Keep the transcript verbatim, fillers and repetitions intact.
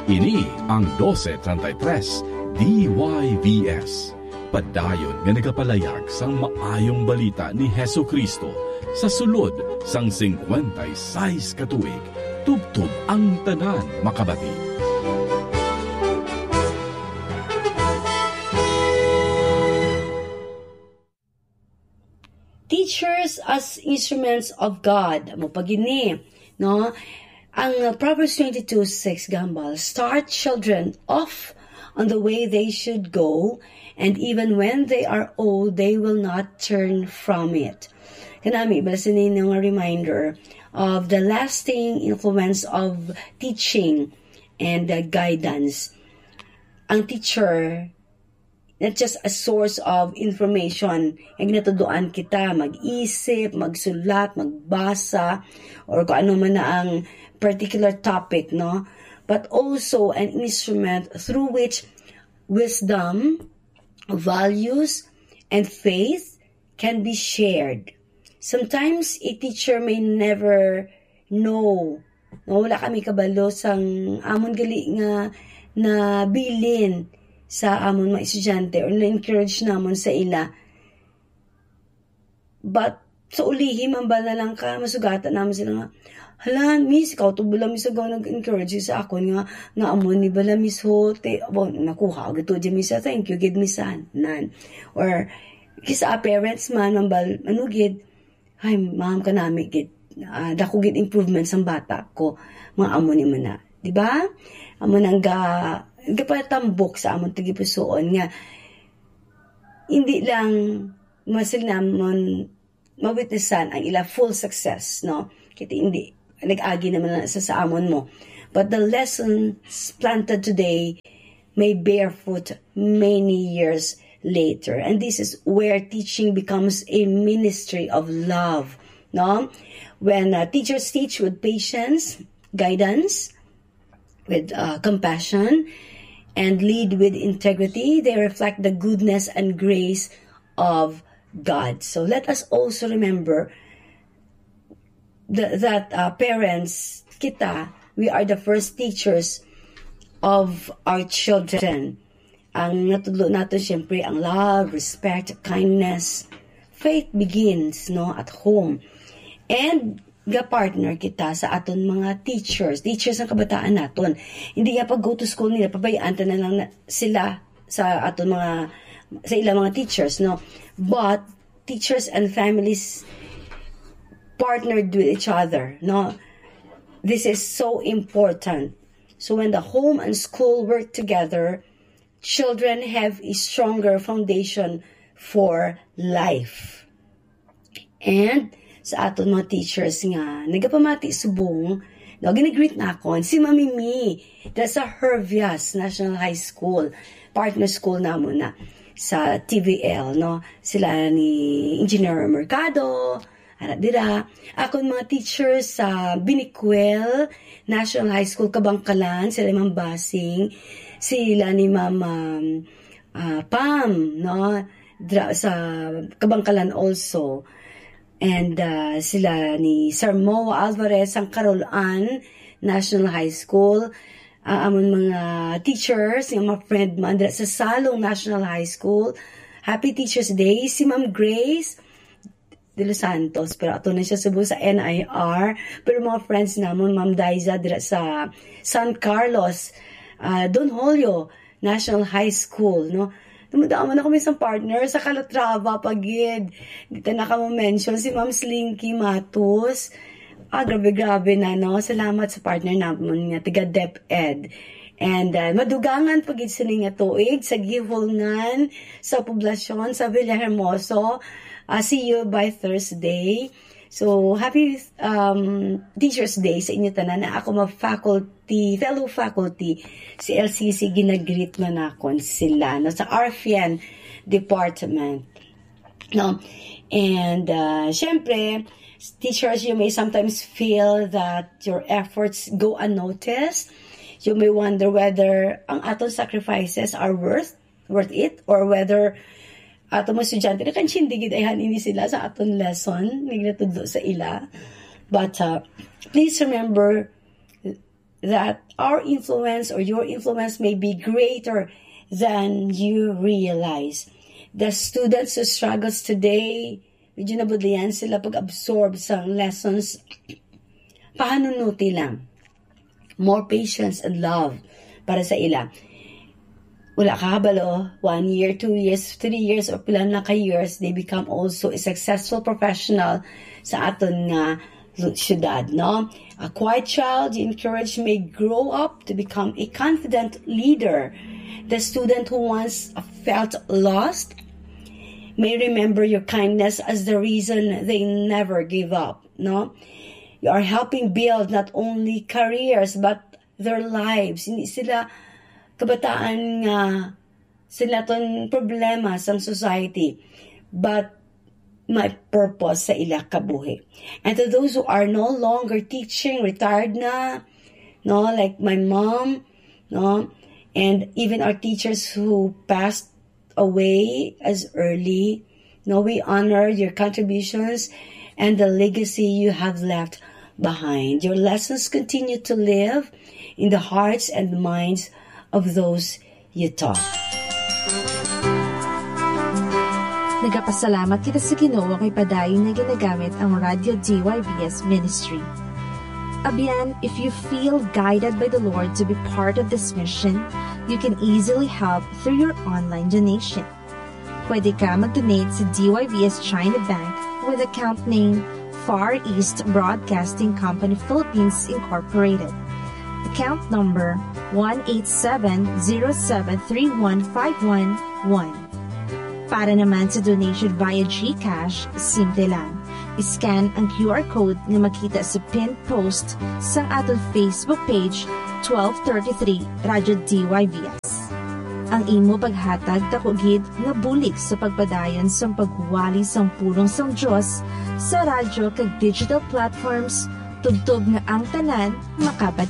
Ini ang dose treinta y tres D Y V S, padayon nga nagapalayag sang maayong balita ni Jesu-Cristo sa sulod sang singkwenta y sais ka tuig, tubtob ang tanan makabati. Teachers as instruments of God. Amo pa gini, no? Ang, uh, Proverbs twenty-two six gahambal, "Start children off on the way they should go, and even when they are old, they will not turn from it." Kanami, bala sini nga reminder of the lasting influence of teaching and, uh, guidance. Ang teacher, not just a source of information. Ang ginatuduan kita, mag-isip, magsulat, magbasa, or kung ano man na ang particular topic, no? But also an instrument through which wisdom, values, and faith can be shared. Sometimes a teacher may never know, no, wala kami kabalo sang amon gali nga nabilin sa amon mga estudyante or na-encourage namon sa ila. But sa ulihi, mambal na lang ka, masugatan naman sila nga, "Hala, miss, ikaw to bala, miss, agaw nag-encourage sa akon nga, nga amo ni bala, miss, ho, te, abo, nakuha ko to dyan, miss, ah, thank you, gid, miss, ah, nan." Or, kisa parents man, mambal, ano, gid, "Ay, ma'am, kanami, gid, ah, dako, gid, improvement sang bata ko." Mga amo ni man na, di ba? Amo nang ga, gapatambok sa amon tagipusoon nga, hindi lang masil namon mawitnessan ang ila full success, no? Kay hindi, nag-agi naman na sa, sa amon mo. But the lessons planted today may bear fruit many years later. And this is where teaching becomes a ministry of love, no? When, uh, teachers teach with patience, guidance, with, uh, compassion, and lead with integrity, they reflect the goodness and grace of God. So let us also remember th-, that, uh, parents, kita, we are the first teachers of our children. Ang natudlo nato, siyempre, ang love, respect, kindness. Faith begins, no, at home. And ga-partner kita sa aton mga teachers, teachers ng kabataan naton. Hindi nga pag go to school nila, pabayaan ta na lang na sila sa aton mga, sa ilang mga teachers, no? But teachers and families partnered with each other, no? This is so important. So when the home and school work together, children have a stronger foundation for life. And sa aton mga teachers nga nagapamati subong, no, ginagreet na akon si Mami Mi, dira sa Hervias National High School, partner school namon na sa T V L, no? Sila ni Engineer Mercado, ara dira. Akon mga teachers sa Binicuel National High School, Kabangkalan, sila Ma'am Basing, sila ni Ma'am, um, ah, Pam, no? Dra-, sa Kabangkalan also. And, ah, sila ni Sir Mo Alvarez sang Carol Ann National High School. Ah, amon mga teachers, nga mga friend man dira sa Salong National High School. Happy Teachers Day. Si Ma'am Grace de Los Santos, pero ato na siya subong sa N I R. Pero mga friends namon, Ma'am Daiza dira sa San Carlos, ah, Don Julio National High School, no? Dumudamo na kami sa partner sa Calatrava pa gid. Di ta na kamo mention si Ma'am Slinky Matos. Ah, grabe, grabe na, no? Salamat sa partner namon nga taga DepEd. And, uh, madugangan pa gid sini nga tuig sa gihulngan sa poblasyon sa Villahermoso. Uh, see you by Thursday. So, happy, um, Teachers Day sa inyo tanan. Na ako mga faculty, fellow faculty, si L C C, ginagreet na nakon sila, no, sa R F N department. No? And, uh, syempre, teachers, you may sometimes feel that your efforts go unnoticed. You may wonder whether ang aton sacrifices are worth, worth it, or whether aton mga estudyante, nakantindi gid ayhan ini sila sa aton lesson, nga ginatudlo sa ila. But, uh, please remember, that our influence or your influence may be greater than you realize. The students who struggles today, medyo nabudlayan sila pag-absorb sa lessons. Pahanunuti lang. More patience and love para sa ila. Wala ka kabalo, one year, two years, three years, or pila na ka years, they become also a successful professional sa aton nga lu-, syudad, no? A quiet child you encourage may grow up to become a confident leader. The student who once felt lost may remember your kindness as the reason they never give up, no? You are helping build not only careers but their lives. Hindi sila kabataan nga sila ton problema sang society, but may purpose sa ila kabuhi. And to those who are no longer teaching, retired na, no, like my mom, no, and even our teachers who passed away as early, no, we honor your contributions and the legacy you have left behind. Your lessons continue to live in the hearts and minds of those you taught. Nagapasalamat kita sa Ginoo kay padayon nga ginagamit ang Radyo D Y V S Ministry. Abyan, if you feel guided by the Lord to be part of this mission, you can easily help through your online donation. Pwede ka mag-donate sa D Y V S China Bank with account name Far East Broadcasting Company Philippines Incorporated. Account number one eight seven zero seven three one five one one. Para naman sa donation via GCash, simple lang. I-scan ang Q R code nga makita sa pinned post sang aton Facebook page, twelve thirty-three Radyo D Y V S. Ang imo paghatag daku gid nga bulig sa pagpadayon sang pagwali sang pulong sang Dios sa radyo kag digital platforms, tubtob nga ang tanan makabati.